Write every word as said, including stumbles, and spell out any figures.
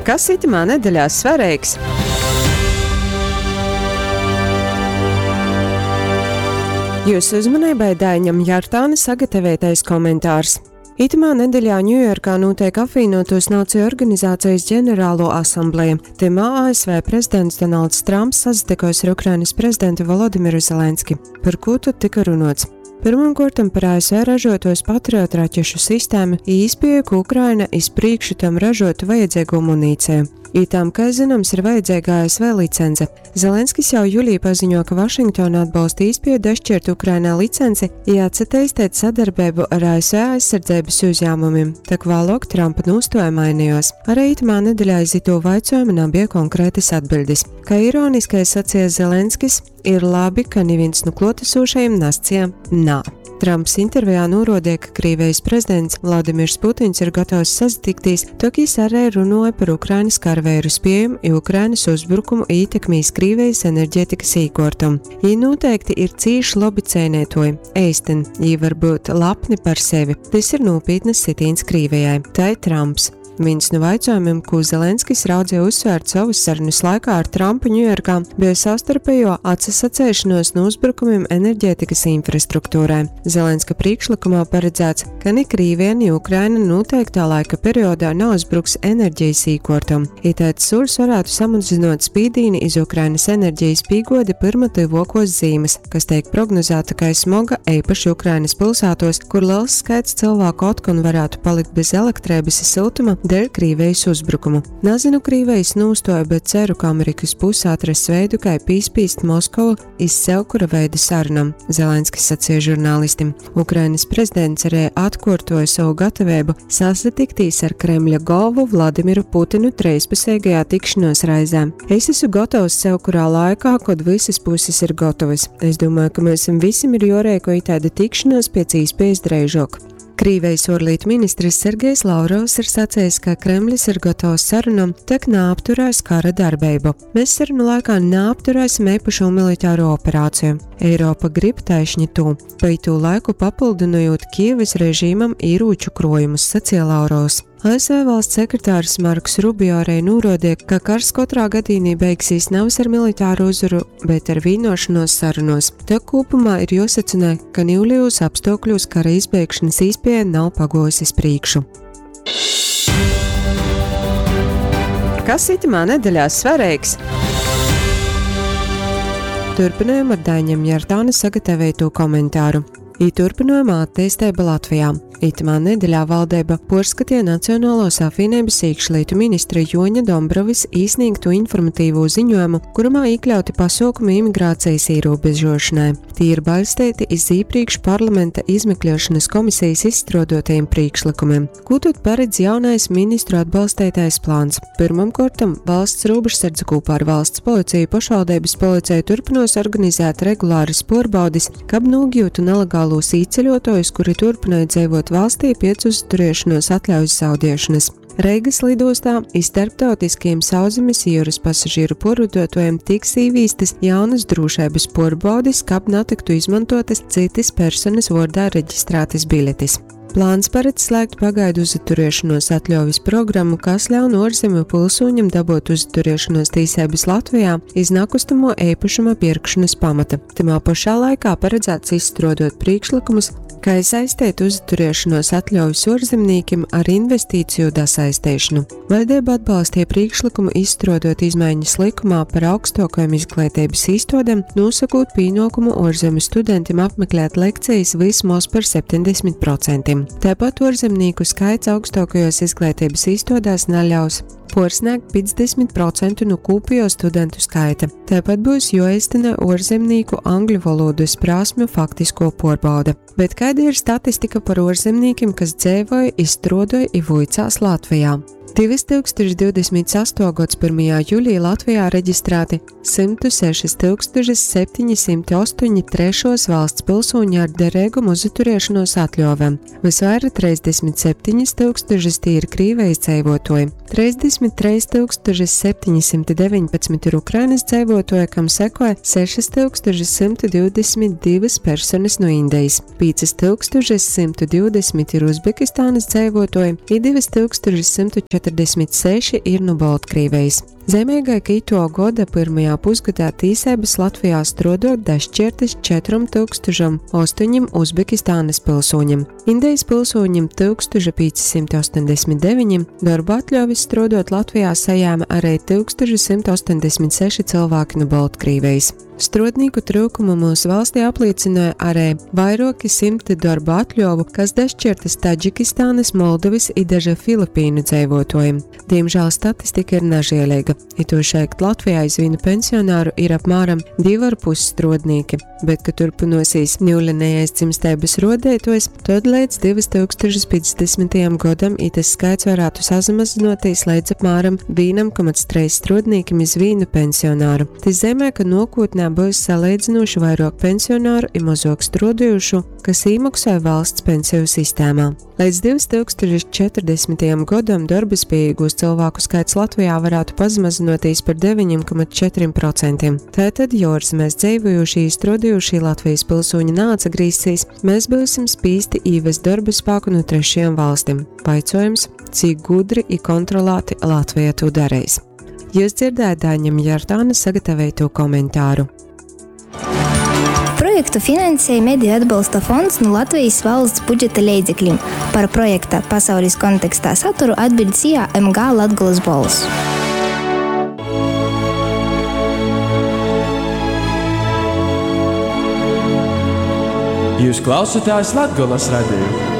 Kas itymā nedeļā svareigs? Jūsu uzmanībai Daiņam Jartāna sagatavotais komentārs. Itymā nedeļā Ņujorkā nūteik Apvīnuotūs Nāciju Organizācijas ģenerālo asambleja. Tymā A S V prezidents Donalds Trumps sasatykos ar Ukrainas prezidentu Volodimiru Zelenski. Par kū tad tyka runots? Pirmkārt, par A S V ražotos Patriot raķešu sistēmu i īspēju, ka Ukraina iz prīkšu tam ražotu vajadzīgo munīciju. I tam, kā zināms, ir vajadzīga A S V licence. Zelenskis jau jūlijā paziņo, ka Vašingtona atbalsta īspēju dašķirt Ukrainā licenci i atsateistēt sadarbību ar A S V aizsardzības uzņēmumiem, tak vēlāk Trumpa nūstoja mainījos. Arī itamā nedeļā iz itū vaicojumu nabija konkrētas atbildes. Kā ironiski sacīja Zelenskis, ir labi, ka neviens nu klotesošajiem nascija nā. Trumps intervijā norādīja, ka Krievijas prezidents Vladimirs Putins ir gatavs sasatikties, tok jis arī runāja par Ukrainas karaveiru spējumu i Ukrainas uzbrukumu ietekmīs Krievijas enerģētikas īkortumu. Jī noteikti ir cīši labi cēnētoji. Eistyn, jī var būt lepni par sevi. Tas ir nopietnas sitīns Krievijai. Tai Trumps. Viens no jautājumiem, ko Zelenskis raudzīja uzsvērt savas sarunas laikā ar Trumpu Ņujorkā, bija savstarpējo atsasacēšanos no uzbrukumiem enerģētikas infrastruktūrai. Zelenska priekšlikumā paredzēts, ka ni Krīvija, ni Ukraina noteiktā laika periodā neuzbruks enerģijas īkortam. Itaids sūrs varētu samazinot spīdīni iz Ukrainas enerģijas pīgodi pirma tyvokos zīmes, kas tiek prognozēta kā smoga eipaši Ukrainas pilsētos, kur liels skaits cilvēku otkon varētu palikt bez elektrības i siltuma dēļ Krīvijas uzbrukumu. Nazinu Krīvijas nūstoju, bet ceru, ka Amerikas puse atrass veidu, kā pīspīst Moskovu iz sevkura veida sarunam, Zelenskis sacīja žurnālistim. Ukrainas prezidents arī atkārtoja savu gatavību sasatiktīs ar Kremļa galvu Vladimiru Putinu trīspusīgajā tikšanos reizē. Es esmu gatavs sevkurā laikā, kad visas puses ir gatavas. Es domāju, ka mēs visiem ir jorēko itāda tikšanos pēc īspējas dreižok. Krīvijas ārlietu ministrs Sergejs Lavrovs ir sacījis, ka Kremlis ir gatavs sarunam, tek neapturēs kara darbību. Mēs sarunu laikā neapturēsim īpašo militāro operāciju. Eiropa grib taišņi tū. Pa itū laiku papildinojot Kievas režīmam ieroču krojumus, sacīja Lavrovs. A S V valsts sekretārs Marks Rubio arī norādīja, ka kars katrā gadījumā beigsies nevis ar militāru uzvaru, bet ar vienošanos sarunos. Tā kopumā ir jāsacina, ka niulijos apstākļos kara izbeigšanas īspēja nav pagojusi iz prīkšu. Kas itamā nedeļā svarīgs? Turpinājam ar Daiņam Jartāna sagatavotu komentāru. I turpinājumā attīstība Latvijā. Itamā nedeļā valdība porskatīja Nacionālos apvienības iekšlietu ministra Joņa Dombrovis īsniegtu informatīvo ziņojumu, kurumā iekļauti pasaukumi imigrācijas ierobežošanai. Tie ir balstīti iz iepriekš parlamenta izmeklēšanas komisijas izstrādotajiem priekšlikumiem. Ko tad paredz jaunais ministru atbalstītais plāns? Pirmkārt, valsts robežsardze kopā ar valsts policiju pašvaldības policiju turpinos organizēt regulāras porbaudis, kab nogļūtu nelegālos īceļotājus, kuri turpināja dzīvot valstī pēc uzturēšanos atļaujas zaudēšanas. Reigas lidostā iz starptautiskiem sauszemes jūras pasažieru porvadotājiem tiks īvīstas jaunas drošības porbaudis, kab netiktu izmantotas citas personas vārdā reģistrētas biļetes. Plāns paredz slēgt pagaidu uzturēšanos atļaujas programmu, kas ļaun ārzemju pilsoņam dabūt uzturēšanos tīsības Latvijā iz nakustamo īpašuma pirkšanas pamata. Tamā pašā laikā paredzēts izstrādot priekšlikumus, kā saistīt uzturēšanos atļaujas ārzemniekiem ar investīciju dasaistēšanu. Valdība atbalstīja priekšlikumu izstrādot izmaiņas likumā par augstākajām izglītības īstodēm, nosakot pienākumu ārzemju studentiem apmeklēt lekcijas vismaz par septiņdesmit procentiem. Tāpat ārzemnieku skaits augstākajos izglītības īstodēs neļaus porsniegt piecdesmit procentu no kopējo studentu skaita. Tāpat būs jāiztena ārzemnieku angļu valodas prasmju faktisko porbauda. Bet kāda ir statistika par ārzemniekiem, kas dzīvoja, izstrādāja i vuicās Latvijā? divtūkstoš divdesmit sastā gads pirmajā jūlijā Latvijā reģistrēti simts seši tūkstoši septiņi simti astoņi trešos valsts pilsoņi ar derīgumu uzturēšanos atļauvēm. Visvairāk trīsdesmit septiņi tūkstoši tie ir Krīvijas dzīvotoji. Divdesmit treis tūkstoši septiņsimti deviņpadsmit ir Ukrainas dzeivuotuoji, kam sekoja sešas tūkstoši simtu divdesmit divas personas nu Indijas, pīcas tūkstoši simtu divdesmit ir Uzbekistānas dzeivuotuoji i divas tūkstoši simtu četrdesmit seši ir nu Boltkrīvejis. Zeimeigai, ka ituo goda pyrmajā pusgadā tīseibys Latvijā struodot dašķiertys četrom tūkstošam ostoņim Uzbekistānas pilsūņim, Indijas pilsūņim tūkstoša pīci simti astoņdesmit deviņi, dorba atļauvis struodot Latvijā sajēma arī tūkstoša simt astoņdesmit seši cylvāki nu Boltkrīvejis. Struodnīku tryukumu mūsu valstī apliecināja arī vairuoki simti dorba atļovu, kas dašķiertas Tadžikistānas, Moldovys i daže Filipīnu dzeivuotuojim. Diemžēl statistika ir nažieleiga. Itūšeit Latvijā iz vīnu pensionāru ir apmēram divi ar pus struodnīki, bet, ka turpinosies niulenējais dzimsteibys ruodeituojs, tod līdz divas tūkstošas piecdesmitajam godam itas skaits varētu sazamazinoties līdz apmēram vienam komats treis struodnīkim iz vīnu pensionāru. Tas zemē, ka nokotnē būs salīdzinoši vairāk pensionāru i mazāk struodujušu, kas īmaksāja valsts pensiju sistēmā. Līdz divas tūkstošas četrdesmitajam godam darba spējīgūs cilvēku skaits Latvijā varētu pazemazinoties par deviņiem komats četriem procentiem. Tātad, jo ārzemēs dzīvojušie, strādājušie Latvijas pilsoņi neatsagrīzīs, mēs būsim spīsti īvest darba spēku no trešajām valstīm. Vaicojums, cik gudri i kontrolēti Latvija to darīs. Jūs dzirdējāt Dāņam Jartāna sagatavoto komentāru. Projektu finansēja Mediju atbalsta fonds no Latvijas valsts budžeta leidzekļiem. Par projekta pasaules kontekstā saturu atbild S I A M G Latgolas Bols. Jūs klausāties Latgolas radio.